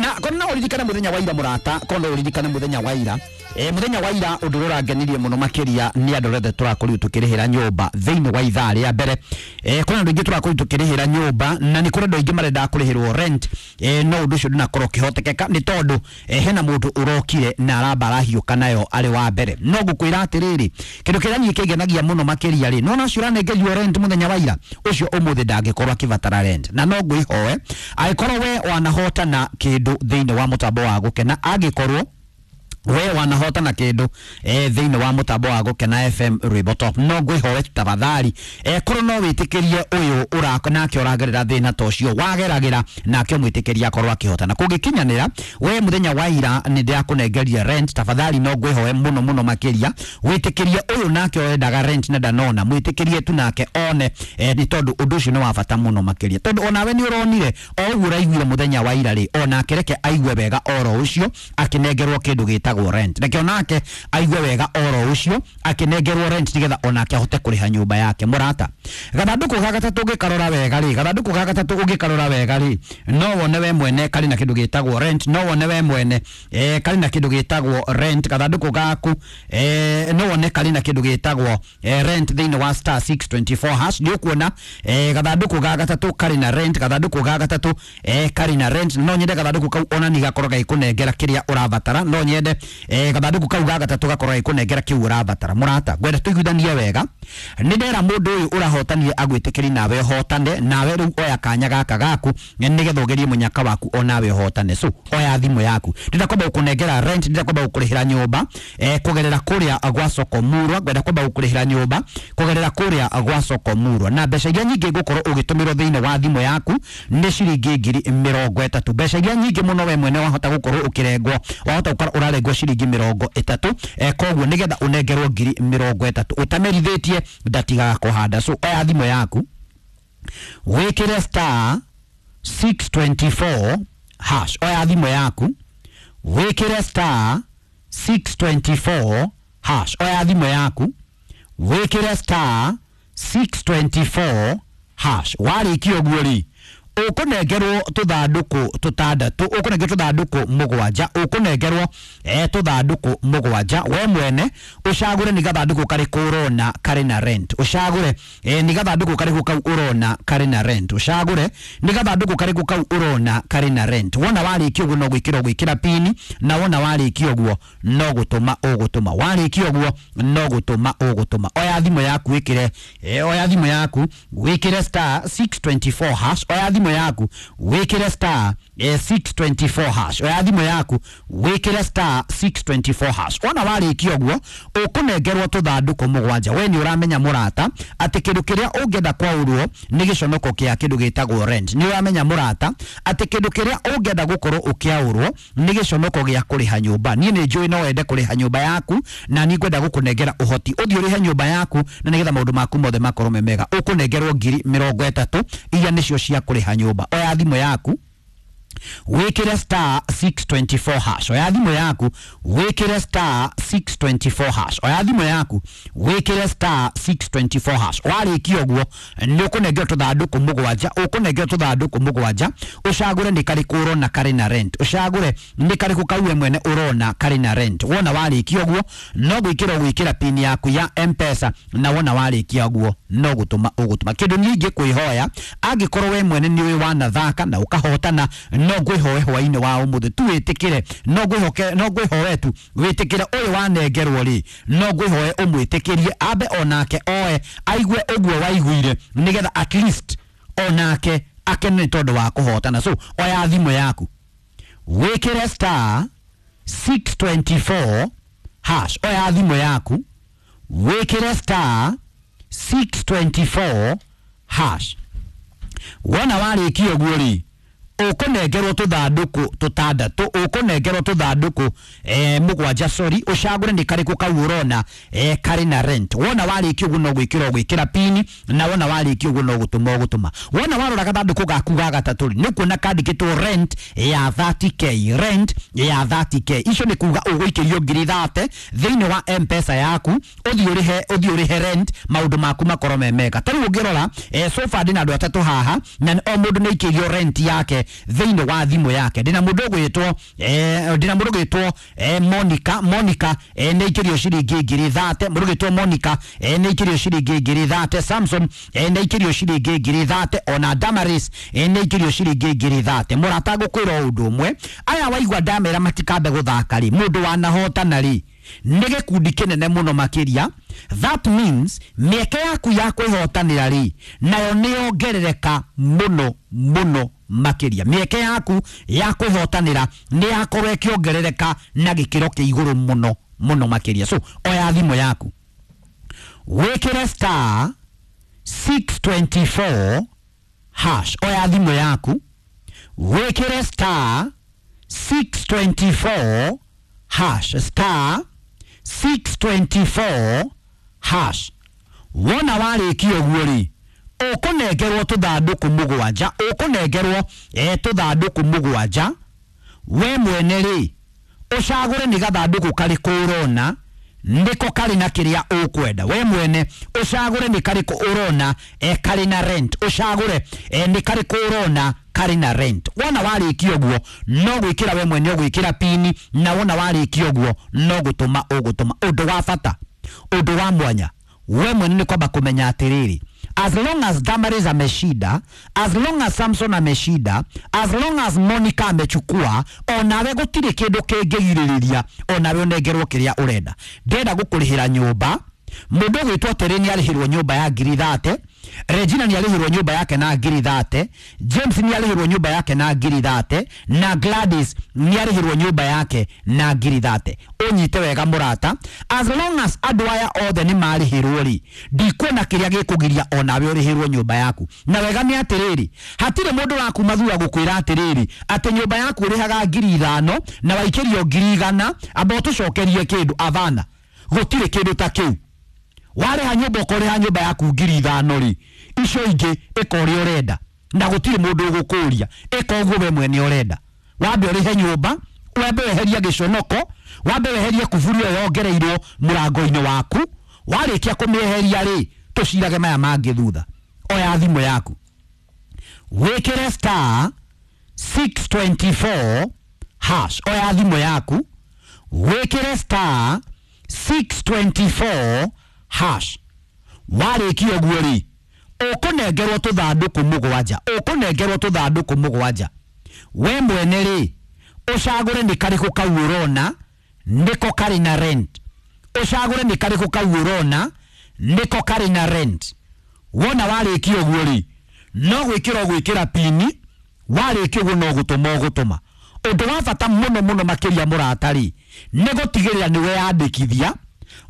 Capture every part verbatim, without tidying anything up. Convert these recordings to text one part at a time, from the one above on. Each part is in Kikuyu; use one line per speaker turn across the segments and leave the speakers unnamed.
Na kono no uririkane muthenya wa ira murata, kono no uririkane muthenya wa ira. Eh muthenya wa ira undu urangenire muno makiria ni andu othe turakorirwo tukirihira nyumba thiini wa ithaa ria mbere. Eh kuna andu aingi turakorirwo tukirihira nyumba na ni kuri andu aingi marenda kurihirwo rent. Eh no undu ucio ndunakorwo ukihotekeka ni tondu eh, hena mundu urokire na aramba arahiuka nayo ari wa mbere. No ngukwira atiriri, kindu kiria niĩ kĩngenagia muno makiria ri, nona ucio uranengerio rent muthenya wa ira ucio umuthi ndangĩkorwo akibatara rent. Na no ngwihoe angĩkorwo we wanahotana kindu thiini wa mutambo wa Gukena, angĩkorwo we wanahotana kindu eh thiini wa mutambo wa Gukena F M Rwimbo Top, no ngwihoe tafadhali eh korwo no witikirie uyu urako nake uragerera thina ta ucio wageragira nake mwitikirie akorwo akihotana. Kungikinyanira we muthenya wa ira ni ndirakunengeria rent, tafadhali no ngwihoe muno muno makiria witikirie uyu nake urendaga rent na ndanona, mwitikirie tu nake one eh, ni tondu undu ucio ni wa bata muno makiria, tondu onawe ni uronire o uguo uraiguire muthenya wa ira ri, onake reke aigue wega oro ucio akinengerwo kindu gitagwo rent, reke onake aigue wega oro ucio akinengerwo rent nigetha onake ahote kuriha nyumba yake. Murata, gathanduku ga gatatu ungikarora wega ri, gathanduku ga gatatu ungikarora wega ri, no wone we mwene kari na kindu gitagwo rent, no wone we mwene eh kari na kindu gitagwo rent. Gathanduku gaku eh no wone kari na kindu gitagwo eh, rent thiini wa star six twenty-four hash. Ni ukuona eh gathanduku ga gatatu kari na rent, gathanduku ga gatatu eh kari na rent. No nyende gathanduku kau ona ni gakorwo gaikunengera kiria urabatara, no nyende eh gathanduku kau ga gatatu gakorwo gaikunengera kiu urabatara. Murata, ngwenda tuiguithanie wega, ni ndera mundu uyu urahotanire agwitikiri nawe uhotane, nawe riu oya kanya gaka gaku nigetha ugerie munyaka waku onawe uhotane. So oya thimu yaku, ndira kwamba gukunengera rent, ndira kwamba gukurihira nyumba eh kugerera kuria gwa soko murwa, ngwenda kwamba gukurihira nyumba kugerera kuria gwa soko murwa, na mbeca iria nyingi ngukorwo ugitumirwo thiini wa thimu yaku ni ciringi ngiri mirongo itatu. Mbeca iria nyingi muno we mwene wahota gukorwo ukirengwo, wahota gukorwo urarengwo ciringi mirongo itatu eh koguo nigetha unengerwo ngiri mirongo itatu utamerithitie ndatigaga kuhanda. So oya thimu yaku wikire star six twenty-four hash, oya thimu yaku wikire star six twenty-four hash, oya thimu yaku wikire star six twenty-four hash. Warikia uguo ri, ukunengerwo tuthanduku tutandatu, ukunengerwo tuthanduku mugwanja, ukunengerwo eh tuthanduku mugwanja. We mwene ucagure ni gathanduku kariku urona kari na rent, ucagure eh ni gathanduku kariku kau urona kari na rent, ucagure ni gathanduku kariku kau urona kari na rent. Wona warikia uguo no gwikira gwikira pini, na wona warikia uguo no gutuma ugutuma, warikia uguo no gutuma ugutuma. Oya thimu yaku wikire eh oya thimu yaku wikire star six twenty-four hash, oya thimu yaku wikire star eh, six twenty-four hash, oya thimu yaku wikire star six twenty-four hash. Wona warikia uguo ukunengerwo tuthanduku mugwanja. We ni uramenya murata ati kindu kiria ungienda kwaurwo ni giconoko kia kindu gitagwo rent. Ni uramenya murata ati kindu kiria ungienda gukorwo ukiaurwo ni giconoko gia kuriha nyumba. Ni ni njui no wende kuriha nyumba yaku, na ni ngwenda gukunengera uhoti uthii urihe nyumba yaku na nigetha maundu maku mothe makorwo me mega. Ukunengerwo ngiri mirongo itatu iria nicio cia kuriha nyumba. Oya thimu yaku wikire star six twenty-four hash, oya thimu yaku wikire star six twenty-four hash, oya thimu yaku wikire star six twenty-four hash. Warikia uguo ni ukunengerwo tuthanduku mugwanja, ukunengerwo tuthanduku mugwanja, ucagure ni kariku urona kari na rent, ucagure ni kariku kau we mwene urona kari na rent. Wona warikia uguo no gwikira gwikira pini yaku ya M-Pesa, na wona warikia uguo no gutuma ugutuma. Kindu nyingi kwihoya angikorwo we mwene ni wanathaka na ukahotana, no ngwihoe hwaini wa umuthi tu witikire, no ngwihoke, no ngwihoe tu witikire uyu wanengerwo ri, no ngwihoe umwitikirie ambe onake oe aigue uguo waiguire nigetha at least onake akene tondu wa kuhotana. So oya thimu yaku wikire star six twenty-four hash, oya thimu yaku wikire star six twenty-four hash. Wona warikia uguo ri, ukunengerwo tuthanduku tutandatu, ukunengerwo tuthanduku eh mugwanja, sorry, ucagure ni kariku kau urona eh kari na rent. Wona warikia uguo no gwikira gwikira pini, na wona warikia uguo no gutuma ugutuma. Wona warora gathanduku gaku ga gatatu ri, ni kuona kandikitwo rent ya thirty k, rent ya thirty k. Icio ni kuga uguikirio ngiri thate thiini wa M-Pesa yaku, uthii urihe, uthii urihe rent, maundu maku makorwo me mega. Tariu ungirora eh so far ndina andu atatu haha, na o mundu ni aikirio rent yake thĩinĩ wa thimũ yake. Ndĩna mũndũ ũgwĩtwo eh, ndĩna mũndũ ũgwĩtwo eh, Monica. Monica eh, nĩ aikĩrio ciringi ngiri thate. Mũndũ ũgwĩtwo Monica eh, nĩ aikĩrio ciringi ngiri thate. Samson eh, nĩ aikĩrio ciringi ngiri thate. Ona Damaris eh, nĩ aikĩrio ciringi ngiri thate. Mũrata ngũkwĩra ũndũ ũmwe, aya waigua ndamera matikambe gũthaka rĩ, mũndũ wanahotana rĩ nĩ gĩkundi kĩnene mũno makĩria. That means mĩeke yaku ya kwĩhotanĩra rĩ nayo nĩ yongerereka mũno mũno makĩria. Mĩeke yaku ya kwĩhotanĩra nĩ yakorwo ĩkĩongerereka na gĩkĩro kĩa igũrũ mũno mũno makĩria. So oya thimũ yaku wĩkĩre star six twenty-four hash. Oya thimũ yaku wĩkĩre star six twenty-four hash, star six twenty-four hash. Wona warĩkia ũguo rĩ, ũkũnengerwo tũthandũkũ mũgwanja, ũkũnengerwo eh, tũthandũkũ mũgwanja. We mwene rĩ ũcagũre nĩ gathandũkũ karĩkũ ũrona nĩko karĩ na kĩrĩa ũkwenda. We mwene ũcagũre nĩ karĩkũ ũrona eh, karĩ na rent. Ũcagũre eh, nĩ karĩkũ ũrona karĩ na rent. Wona warĩkia ũguo no gwĩkĩra we mwene ũgwĩkĩra pini, na wona warĩkia ũguo no gũtũma ũgũtũma. Ũndũ wa bata, ũndũ wa mwanya, we mwene nĩ kwamba kũmenya atĩrĩrĩ, as long as Damaris ameshinda, as long as Samson ameshinda, as long as Monica amechukua, onawe gũtirĩ kĩndũ kĩngĩgirĩrĩria onawe ũnengerwo kĩrĩa ũrenda. Ndĩrenda gũkũrĩhĩra nyũmba. Mũndũ ũgwĩtwo Terĩ nĩ arĩhĩrwo nyũmba ya ngiri thate, Regina nĩ arĩhĩrwo nyũmba yake na ngiri thate, James nĩ arĩhĩrwo nyũmba yake na ngiri thate, na Gladys nĩ arĩhĩrwo nyũmba yake na ngiri thate. Ũnyite wega mũrata, as long as andũ aya othe nĩ marĩhĩrwo rĩ, ndikuona kĩrĩa gĩkũgiria onawe ũrĩhĩrwo nyũmba yaku. Na wega nĩ atĩrĩrĩ, hatirĩ mũndũ wakuma thutha gũkwĩra atĩrĩrĩ atĩ nyũmba yaku ũrĩhaga ngiri ithano na waikĩrio ngiri igana, amba ũtũcokerie kĩndũ. Avana, gũtirĩ kĩndũ ta kĩu. Warĩha nyũmba ũkorĩha nyũmba yaku ngiri ithano rĩ, icio ingĩ ĩka ũrĩa ũrenda na gũtirĩ mũndũ ũgũkũria, ĩka ũguo we mwene ũrenda. Wambe ũrĩhe nyũmba, wambe weherie gĩconoko, wambe weherie kuburi ĩyo yongereirwo mũrango-inĩ waku. Warĩkia kũmĩeheria rĩ, tũcirage maya mangĩ thutha. Oya thimũ yaku wĩkĩre star six twenty-four hash. Oya thimũ yaku wĩkĩre star six twenty-four hash. Warĩkia ũguo rĩ, ũkũnengerwo tũthandũkũ mũgwanja, ũkũnengerwo tũthandũkũ mũgwanja. We mwene rĩ ũcagũre nĩ karĩkũ kau ũrona nĩko karĩ na rent. Ũcagũre nĩ karĩkũ kau ũrona nĩko karĩ na rent. Wona warĩkia ũguo rĩ, no gwĩkĩra ũgwĩkĩra pini, warĩkia ũguo no gũtũma ũgũtũma. Ũndũ wa bata mũno mũno makĩria mũrata rĩ, nĩ gũtigĩrĩra nĩ weyandĩkithia,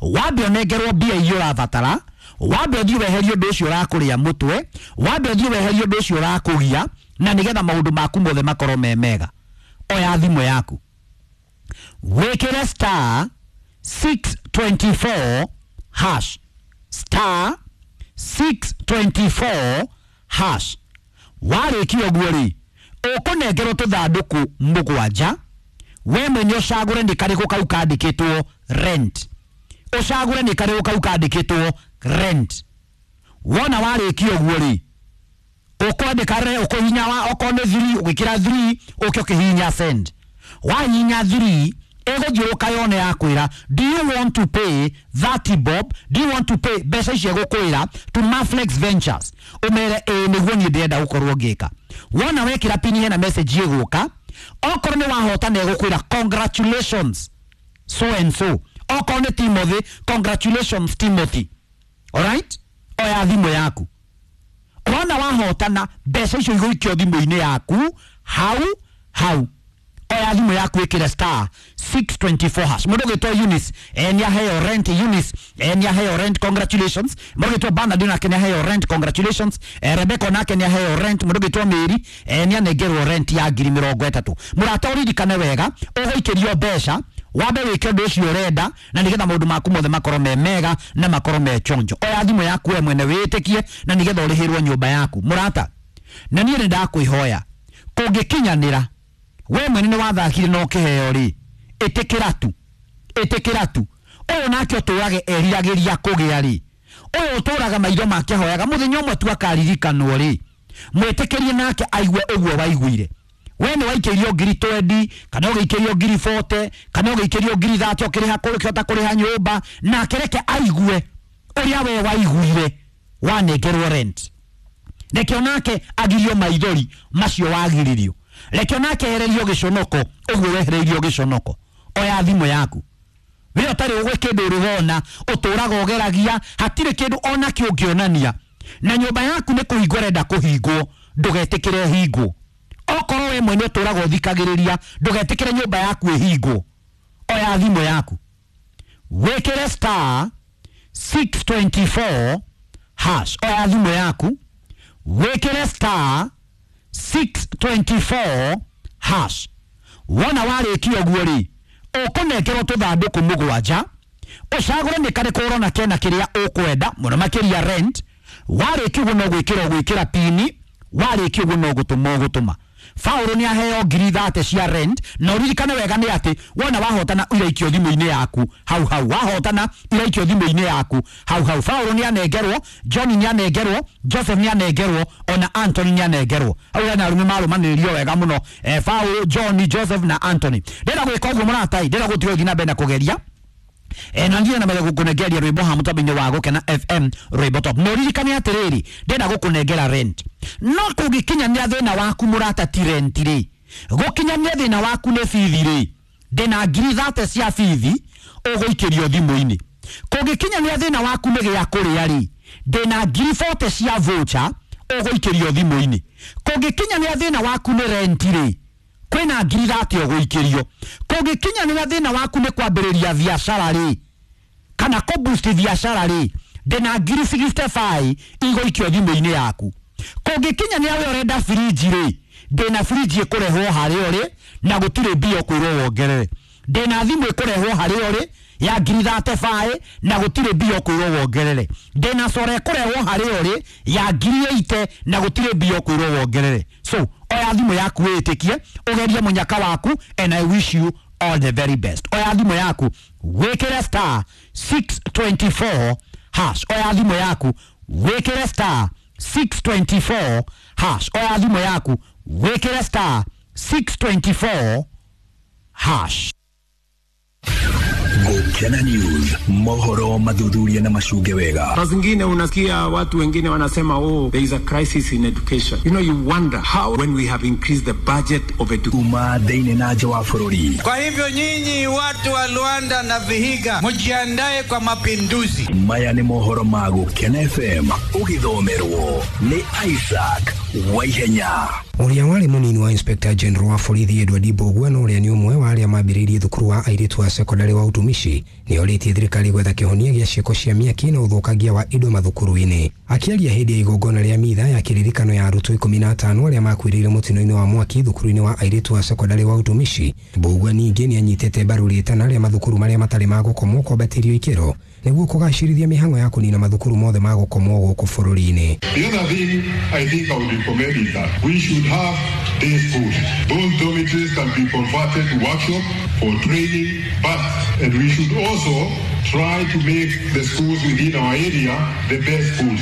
wambe ũnengerwo mbia iria ũrabatara, wambe ũthiĩ weherie ũndũ ũcio ũrakũrĩa mũtwe, wambe ũthiĩ weherie ũndũ ũcio ũrakũgia, na nĩgetha maũndũ maku mothe makorwo me mega. Oya thimũ yaku wĩkĩre star six twenty-four hash, star six twenty-four hash. Warĩkia ũguo rĩ, ũkũnengerwo tũthandũkũ mũgwanja. We mwene ũcagũre nĩ karĩkũ kau kandĩkĩtwo rent. Ũcagũre nĩ karĩkũ kau kandĩkĩtwo rent. Wona warĩkia ũguo rĩ, ũkwandĩka re, ũkũhihinya wa okorwo nĩ three ũgĩkĩra three ũke ũkĩhihinya send. Wahihinya three ĩgũthiũrũka yone yakwĩra, do you want to pay thirty bob, do you want to pay mbeca icio ĩgũkwĩra to Maflex Ventures, ũmere ĩĩ nĩguo niĩ ndĩrenda gũkorwo ngĩka. Wona wekĩra pini hena message ĩgũka, okorwo nĩ wahotana ĩgũkwĩra congratulations so and so, okorwo nĩ Timothy, congratulations Timothy. Alright, oya thimũ yaku. Wona wahotana mbeca icio igũikio thimũ-inĩ yaku hau hau. Oya thimũ yaku ĩkĩre star six twenty-four hash. Mũndũ ũgwĩtwo Eunice eh, nĩ aheo rent. Eunice eh, nĩ aheo rent, congratulations. Mũndũ ũgwĩtwo Bernard nake nĩ aheo rent, congratulations. Eh, Rebecca nake nĩ aheo rent. Mũndũ ũgwĩtwo Mary eh, nĩ anengerwo rent ya ngiri mĩrongo ĩtatũ. Mũrata ũririkane wega, ũgũikĩrio mbeca wambe wĩke ũndũ ũcio ũrenda na nĩgetha maũndũ maku mothe makorwo me mega na makorwo me chonjo. Oya thimũ yaku we mwene wĩtĩkie na nĩgetha ũrĩhĩrwo nyũmba yaku. Mũrata, na niĩ nĩ ndakwĩhoya kũngĩkinyanĩra we mwene nĩ wathakire na ũkĩheo rĩ, ĩtĩkĩra tu, ĩtĩkĩra tu. Ũyũ nake ũtũrage eriragĩria kũgĩa rĩ, ũyũ ũtũraga maitho make ahoyaga mũthenya ũmwe tu akaririkanwo rĩ, mwĩtĩkĩrie nake aigue ũguo waiguire. We nĩ waikĩirio ngiri twenty kana ũgĩikĩrio ngiri forty kana ũgĩikĩrio ngiri thirty ũkĩrĩha kũhota kũrĩha nyũmba, nake reke aigue ũrĩa we waiguire wanengerwo rent. Reke onake agirio maithori macio wagiririo, reke onake ehererio gĩconoko ũguo wehereirio gĩconoko. Oya thimũ yaku, we ũtarĩ ũgwe kĩndũ ũrĩwona, ũtũraga ũgeragia, hatirĩ kĩndũ ona kĩ ũngĩonania, na nyũmba yaku nĩ kũhingwo ĩrenda kũhingwo, ndũgetĩkĩre ĩhingwo. Okorwo we mwene ũtũraga ũthikagĩrĩria, ndũgetĩkĩre nyũmba yaku ĩhingwo. Oya thimũ yaku, wĩkĩre star six twenty-four hash. Oya thimũ yaku, wĩkĩre star six twenty-four hash. Wona warĩkia ũguo rĩ, ũkũnengerwo tũthandũkũ mũgwanja, ũcagũre nĩ karĩkũ ũrona kena kĩrĩa ũkwenda mũno makĩria rent. Warĩkia ũguo no gwĩkĩra ũgwĩkĩra pini, warĩkia ũguo no gũtũma ũgũtũma. Faũrũ nĩ aheo ngiri thate cia rent, na ũririkane wega nĩ atĩ wona wahotana iraikio thimũ-inĩ yaku hau hau, wahotana iraikio thimũ-inĩ yaku hau hau. Faũrũ nĩ anengerwo, John nĩ anengerwo, Joseph nĩ anengerwo, ona Anthony nĩ anengerwo. Hau hena arũme marũmanĩrĩrio wega mũno, eh, Faũrũ, John, Joseph na Anthony. Ndĩrenda gwĩka ũguo mũratai, ndĩrenda gũtiga ũthiĩ na mbere na kũgeria. E, na ndiye na mbere gũkũnengeria rwĩmbo ha mũtambo-inĩ wa Gũkena F M rwĩmbo top. No ririkane atĩrĩrĩ, ndĩrenda gũkũnengera rent, no kũngĩkinyanĩra thĩna waku mũrata ti rent rĩ, gũkinyanĩra thĩna waku nĩ bithi rĩ, ndĩna ngiri thate cia bithi ũgũikĩrio thimũ-inĩ. Kũngĩkinyanĩra thĩna waku nĩ gĩa kũrĩa rĩ, ndĩna ngiri forty cia voucher ũgũikĩrio thimũ-inĩ. Kũngĩkinyanĩra thĩna waku nĩ rent rĩ, kwĩna ngiri thate ũgũikĩrio. Kũngĩkinyanĩra thĩna waku nĩ kwambĩrĩria biacara rĩ, kana kũ-boost biacara rĩ, ndĩna ngiri sixty-five igũikio thimũ-inĩ yaku. Kũngĩkinyanĩra we ũrenda fridge rĩ, ndĩna fridge ĩkũrehwo harĩa ũrĩ na gũtirĩ mbia ũkwĩrwo wongerere. Ndĩna thimũ ĩkũrehwo harĩa ũrĩ ya ngiri thirty-five na gũtirĩ mbia ũkwĩrwo wongerere. Ndĩna sora ĩkũrehwo harĩa ũrĩ ya ngiri eighty na gũtirĩ mbia ũkwĩrwo wongerere. So oya thimũ yaku wĩtĩkie, ũgerie mũnyaka waku, and I wish you all the very best. Oya thimũ yaku, wĩkĩre star six twenty-four hash. Oya thimũ yaku, wĩkĩre star six twenty-four hash. Oya thimũ yaku, wĩkĩre star six twenty-four hash.
Gũkena News, mohoro mathuthuria na macunge wega.
Saa zingine unasikia watu wengine wanasema, oh, there is a crisis in education. You know, you wonder how when we have increased the budget of education.
Kuma thĩinĩ na nja wa bũrũri.
Kwa hivyo nyinyi watu wa Luanda na Vihiga mjiandae kwa mapinduzi.
Maya nĩ mohoro ma Gũkena F M ũgĩthomerwo nĩ Isaac Waihenya.
Ũrĩa warĩ mũnini wa Inspector General wa borithi Edward Mbugua na ũrĩa nĩ ũmwe wa arĩa mambĩrĩirie thukuru wa airĩtu a sekondari wa utumishi nĩ orĩtie thirikari gwetha kĩhonia gĩa ciĩko cia mĩaki na ũthũkangia wa indo mathukuru-inĩ. Akĩaria hĩndĩ ya igongona rĩa mitha ya kĩririkano ya arutwo ikũmi na atano arĩa makuĩrĩire mũtino-inĩ wa mwaki thukuru-inĩ wa airĩtu a sekondari wa utumishi, Mbugua ningĩ nĩ anyitĩte mbaru rĩtana rĩa mathukuru marĩa matarĩ ma gũkomwo kwambatĩrio ikĩro nĩguo kũgacĩrithia mĩhang'o ya kũnina mathukuru mothe ma gũkomwo gũkũ bũrũri-inĩ.
The other thing I think I would recommend is that we should have day schools. Those dormitories can be converted to workshops for training, but and we should also try to make the schools within our area the best schools.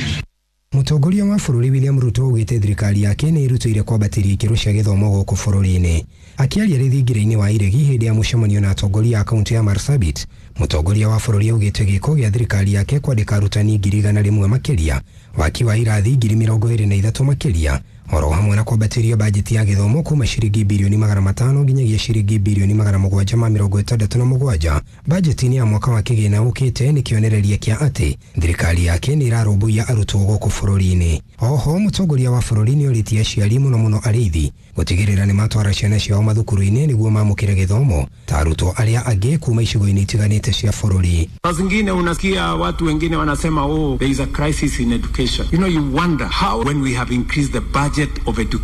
Mũtongoria wa bũrũri William Ruto augĩte thirikari yake nĩ ĩrutĩire kwambatĩria ikĩro cia gĩthomo gũkũ bũrũri-inĩ. Akĩaria rĩthingira-inĩ wa Iregi hĩndĩ ya mũcemanio na atongoria a kaunti ya Marsabit, mũtongoria wa bũrũri augĩte gĩko gĩa thirikari yake kwandĩka arutani ngiri igana rĩmwe makĩria, waki wa irathi ngiri mĩrongo ĩrĩ na ithatũ makĩria, oro hamwe na kwambatĩria bajeti ya gĩthomo kuma ciringi birioni magana matano nginyagia ciringi birioni magana mũgwanja ma mĩrongo ĩtandatũ na mũgwanja. Bajeti-inĩ ya mwaka wa kĩgĩna ũkĩte nĩ kĩonereria kĩa atĩ thirikari yake nĩ ĩrarũmbũiya arutwo gũkũ bũrũri-inĩ. Oho mũtongoria wa bũrũri nĩ orĩtie aciari mũno mũno arĩithi gũtigĩrĩra nĩ matwara ciana ciao mathukuru-inĩ nĩguo mamũkĩre gĩthomo ta arutwo arĩa angĩ kuma icigo-inĩ itiganĩte cia bũrũri.
Saa zingine unasikia watu wengine wanasema, oh, there is a crisis in education. You know, you wonder how when we have increased the budget of education.